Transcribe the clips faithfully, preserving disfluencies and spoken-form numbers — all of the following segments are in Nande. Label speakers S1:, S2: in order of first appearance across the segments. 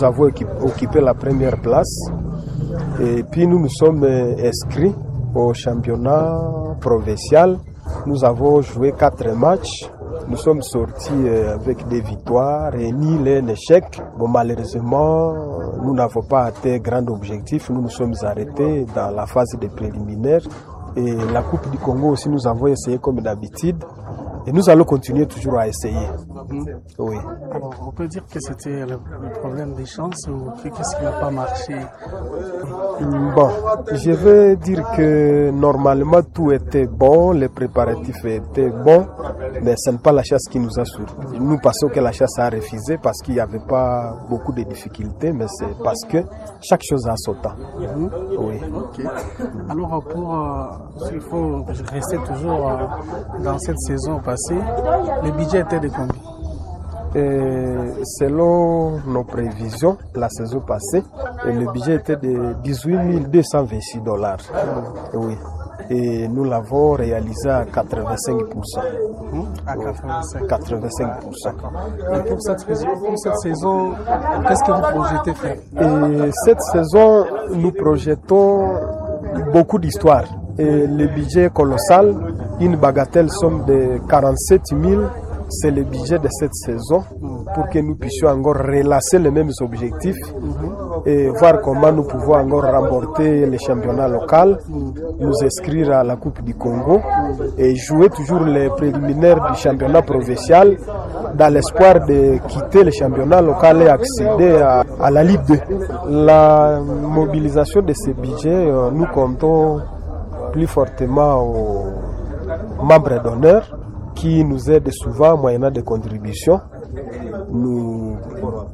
S1: Nous avons occupé la première place et puis nous nous sommes inscrits au championnat provincial. Nous avons joué quatre matchs. Nous sommes sortis avec des victoires et ni un échec. Bon, malheureusement, nous n'avons pas atteint grand objectif. Nous nous sommes arrêtés dans la phase des préliminaires. Et la Coupe du Congo aussi, nous avons essayé comme d'habitude. Et nous allons continuer toujours à essayer.
S2: Mmh.
S1: Oui.
S2: Alors, on peut dire que c'était le, le problème des chances ou qu'est-ce qui n'a pas marché?
S1: Bon, je vais dire que normalement tout était bon, les préparatifs étaient bons, mais ce n'est pas la chasse qui nous a surpris. Nous pensons que la chasse a refusé parce qu'il n'y avait pas beaucoup de difficultés, mais c'est parce que chaque chose a son temps.
S2: Mmh.
S1: Oui.
S2: Ok. Alors, pour, euh, il faut rester toujours euh, dans cette saison passée, le budget était de combien?
S1: Et selon nos prévisions, la saison passée, le budget était de dix-huit mille deux cent vingt-six dollars. Oui. Et nous l'avons réalisé à quatre-vingt-cinq pour cent.
S2: Mmh, à quatre-vingt-cinq.
S1: quatre-vingt-cinq pour cent.
S2: Et pour cette, pour cette saison, qu'est-ce que vous projetez faire?
S1: Et cette saison, nous projetons beaucoup d'histoires. Et le budget est colossal, une bagatelle somme de quarante-sept mille. C'est le budget de cette saison pour que nous puissions encore relancer les mêmes objectifs et voir comment nous pouvons encore remporter le championnat local, nous inscrire à la Coupe du Congo et jouer toujours les préliminaires du championnat provincial dans l'espoir de quitter le championnat local et accéder à, à la Ligue deux. La mobilisation de ce budget, nous comptons plus fortement aux membres d'honneur qui nous aident souvent moyennant des contributions. Nous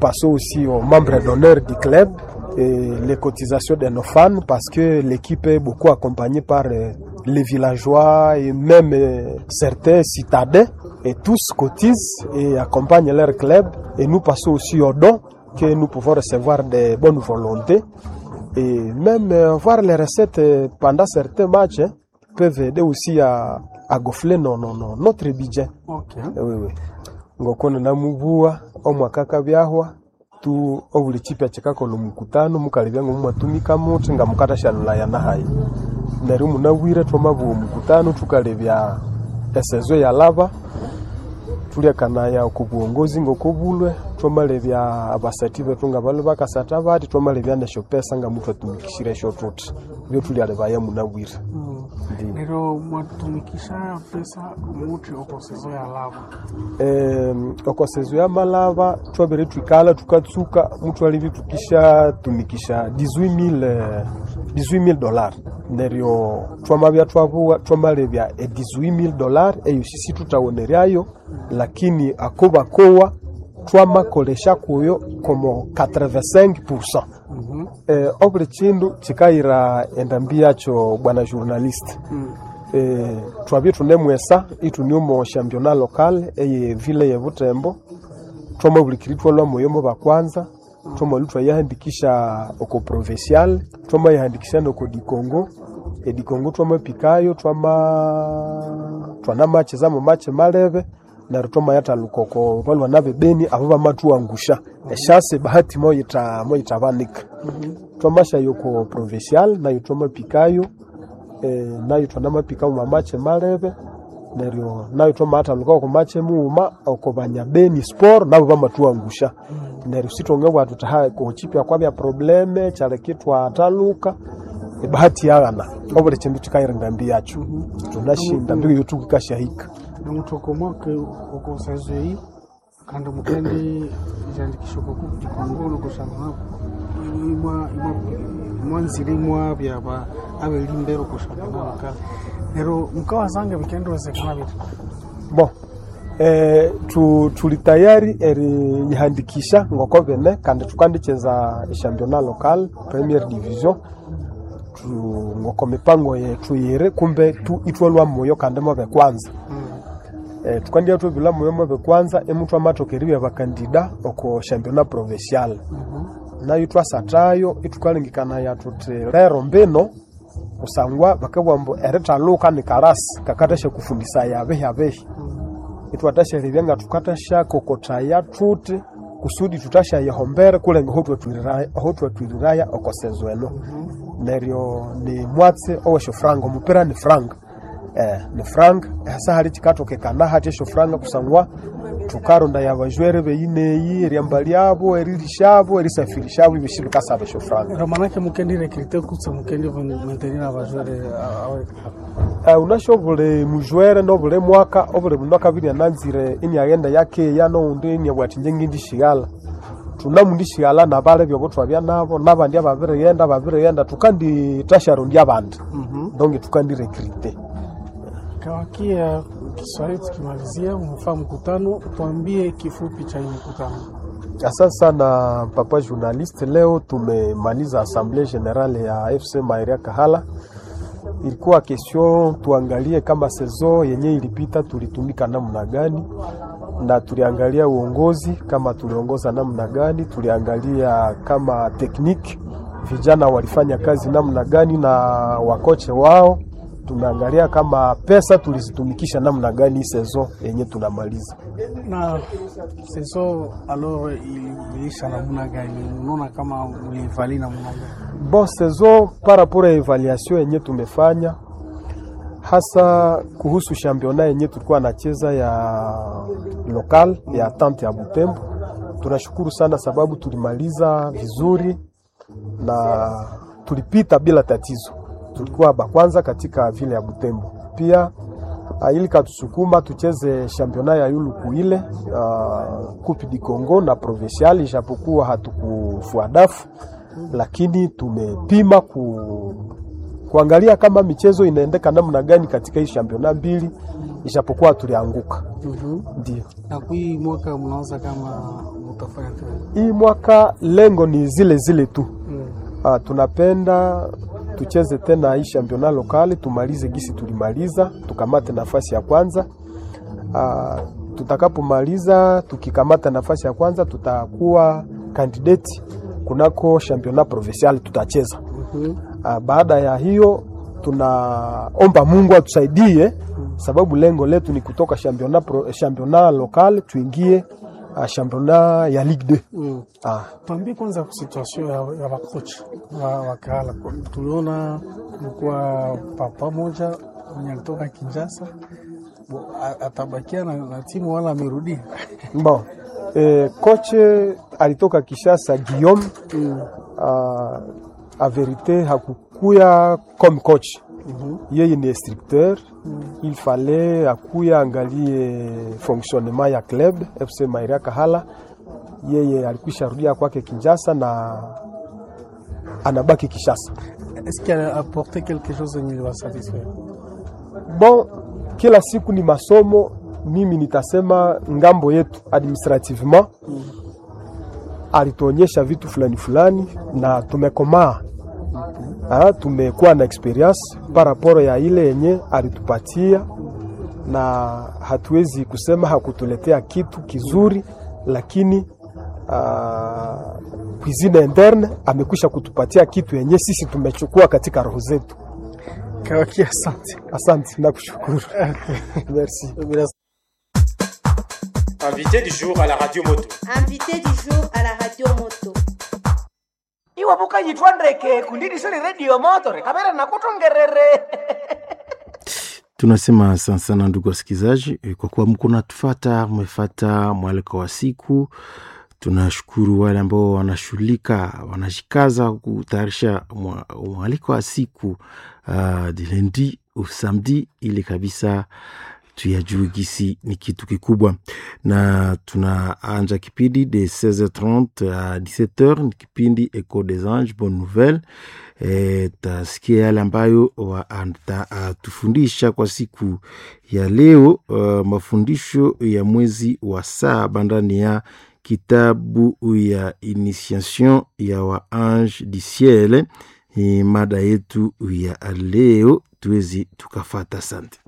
S1: passons aussi aux membres d'honneur du club et les cotisations de nos fans parce que l'équipe est beaucoup accompagnée par les villageois et même certains citadins et tous cotisent et accompagnent leur club. Et nous passons aussi aux dons que nous pouvons recevoir des bonnes volontés et même voir les recettes pendant certains matchs hein, peuvent aider aussi à à gonfler non, non, non, notre budget.
S2: Okay.
S1: Oui, oui. Ngokono namubua omwakaka byahwa tu obuli chipya chikakola omukutano mukalibya ng'omwatumika muthi nga mukatashalulaya nahayi neryo munabwire twamabuwa omukutano thukalebya esezo yalaba tulyakanaya oku buongozi ng'okobulwe twamalebya abasati bethu nga balwe bakasatha bathi twamalebya nesyopesa nga muthwatumikishire esyo thuthi ibyo tulyalebaya munabwire.
S2: Mm. Neryo mwatumikisha pesa muthi oko sezo yalaba?
S1: Eh, oko sezo yamalaba twabere thwikala thukatsuka muthwalibya thukishatumikisha dix-huit mille dollars neryo twamabya twabuwa twamalebya e dix-huit mille dollars eyo sisi thuthawoneryayo lakini akobakowa twamakolesha kuyo como quatre-vingt-cinq pour cent.
S2: Mm -hmm.
S1: Eh, obuli kindu kikayira endambi yakyo bwana journaliste.
S2: Mm.
S1: Eh, twabye thunemwesa ithune omo championnat local eye ville ye Butembo twamabulikiri twalwa moyo mo bakwanza twamalu twayahandikisha oko provincial twamayahandikisha noko di Congo e di Congo twamapikayo twama twanamacheza mu mache malebe neryo twamayathaluka oko balwana bebeni abo bamathuwangusha eshase bahati moyitha moyithabanika.
S2: Mm -hmm.
S1: Twamashayo oko provincial nayo twamapikayo eh, nayo twanamapika mu mache malebe neryo nayo twamathaluka oko mache mughuma oko banyabeni sport nabo bamathuwangusha.
S2: Mm -hmm.
S1: Neryo sithwangabugha thuthi ha kochipya kwabya probleme kyaleka ithwathaluka ebahati yaghana obuli kindu kikayira endambi yakyo.
S2: Mm -hmm.
S1: Thunashinda mbiko yothukikashahika
S2: Nomuthokoma oko sezo eyi kandi mukendi isyandikisha oko Coupe du Congo noko championnat imwa imwa mwanzire imwabya abelimbere oko championnat local neryo mukawasanga bikendowezekana bithi?
S1: Bon, eh, tu, tuli tayari eriyihandikisha ngoko bene kandi thukandikyeza echampionnat local première division tu, ngoko mipango yethu yiri kumbe tu ithwalwa moyo kandi mobe kwanza.
S2: Mm.
S1: Eh, tukandya thwabila moyo mobe kwanza emuthu amathoka eribya bakandida oko championnat provincial.
S2: Mm -hmm.
S1: Nayo thwasathayo ithukalengekanaya thuthi lero mbino kusangwa bakabugha ambu erithaluka ni karasi kakathasya abihi abihi.
S2: Mm.
S1: Ithwathasyalebya nga thukathasyakokothaya thuthi Kusudi tutashayihombera kulenga aho twatwiriraya oko saison eno. Neryo ni mwatsi ow'esyofranga, omupira ni franga. Eh, ni franga hasa hali kikatokekana hati esyofranga kusangwa tukarondaya abajwere beyineyi, eryambalyabo, eririshabo, erisafirishabo, ebyosi bikasaba esyofranga.
S2: Ero manake mukendi recruter kutse mukendi maintenir abajwere awe?
S1: Uh, unasho buli mujwere nobuli mwaka, obuli mundu akabiri ananzire iniaghenda yakeya, nowundi iniabugha athi inje ngindishighala. Tunamundishighala nabale byobo twabya nabo, nabandi ababirighenda babirighenda, tukandithasharondya abandi. Donc tukandi recruter.
S2: Kawakia Kiswahili tukimalizia, umefaa mkutano, tuambie kifupi cha hii mkutano.
S1: Asante sana papa journaliste. Leo tumemaliza assemblée générale ya F C Maheria Kahala. Ilikuwa question tuangalie kama saison yenye ilipita tulitumika namna gani, na tuliangalia uongozi kama tuliongoza namna gani, tuliangalia kama technique vijana walifanya kazi namna gani na wakoche wao, tumeangalia kama pesa tulizitumikisha namna gani saison yenye tunamaliza.
S2: Na saison alors iliisha namna gani? Unaona kama mlivali namna gani?
S1: Bon, saison par rapport ya évaluation yenye tumefanya, hasa kuhusu championnat yenye tulikuwa nacheza ya local ya tante ya Butembo, tunashukuru sana sababu tulimaliza vizuri na tulipita bila tatizo. Tulikuwa ba kwanza katika vile ya Butembo. Pia uh, ili katusukuma tucheze championnat ya yulu kuile uh, Coupe du Congo na provincial, ijapokuwa hatukufua dafu, lakini tumepima ku, kuangalia kama michezo inaendeka namna gani katika hii championnat mbili, ijapokuwa tulianguka.
S2: Mm -hmm.
S1: Ndio.
S2: Na kui mwaka mnaanza kama mtafanya tena?
S1: Hii mwaka lengo ni zile zile tu.
S2: Mm.
S1: Ah, tunapenda tucheze tena hii championnat local, tumalize gisi tulimaliza, tukamate nafasi ya kwanza. Ah, tutakapomaliza tukikamata nafasi ya kwanza tutakuwa candidate kunako championnat provincial tutacheza.
S2: Mm -hmm.
S1: Ah, baada ya hiyo tunaomba Mungu atusaidie, sababu lengo letu ni kutoka championnat pro, championnat local tuingie uh, championnat ya Ligue deux.
S2: Mm.
S1: Ah,
S2: Tuambie kwanza situation ya, ya bakocha wa, wa Kahala. Tuliona kulikuwa papa moja mwenye alitoka Kinshasa. Bo, a- atabakia na, na timu wala amerudia?
S1: Bon. Eh, coach alitoka Kinshasa Guillaume.
S2: Mm.
S1: uh, a vérité hakukuya comme coach.
S2: Mm -hmm.
S1: Yeye ni instructeur. Il fallait akuya angalie fonctionnement ya club F C Maheria Kahala. Yeye alikwisha rudia kwake Kinshasa na anabaki Kinshasa.
S2: Est-ce qu'il a apporté quelque chose yenye iliwasatisfaire?
S1: Bon, kila siku ni masomo. Mimi nitasema ngambo yetu administrativement
S2: Mm.
S1: alituonyesha vitu fulani fulani na tumekomaa. Ah, tumekuwa na expérience par rapport ya ile yenye alitupatia, na hatuwezi kusema hakutuletea kitu kizuri, lakini uh, cuisine interne amekwisha kutupatia kitu yenye sisi tumechukua katika roho zetu.
S2: Kawaki, asante.
S1: Asante, nakushukuru. Merci.
S2: Bila
S3: Invité du jour à la radio moto.
S4: Invité du jour à la radio moto.
S5: Iwe bukanyitwa ndeke kundidisoni redio moto rekavera nakutongerere.
S6: Tunasema asante sana ndugu wasikilizaji, eh, kwa kuwa mko natufata, mmefata mwaliko wa siku. Tunashukuru wale ambao wanashughulika, wanajikaza kutayarisha mwa- mwaliko wa siku uh, du lundi au samedi, ili kabisa tuyajue gisi ni kitu kikubwa, na tunaanja kipindi de seize heures trente à dix-sept heures, ni kipindi Echo des Anges Bonne Nouvelle. E, tasikia yale ambayo watatufundisha kwa siku ya leo, uh, mafundisho ya mwezi wa saba ndani ya kitabu ya Initiation ya wa Ange du Ciel. Ni mada yetu ya leo, tuwezi tukafata. Asante.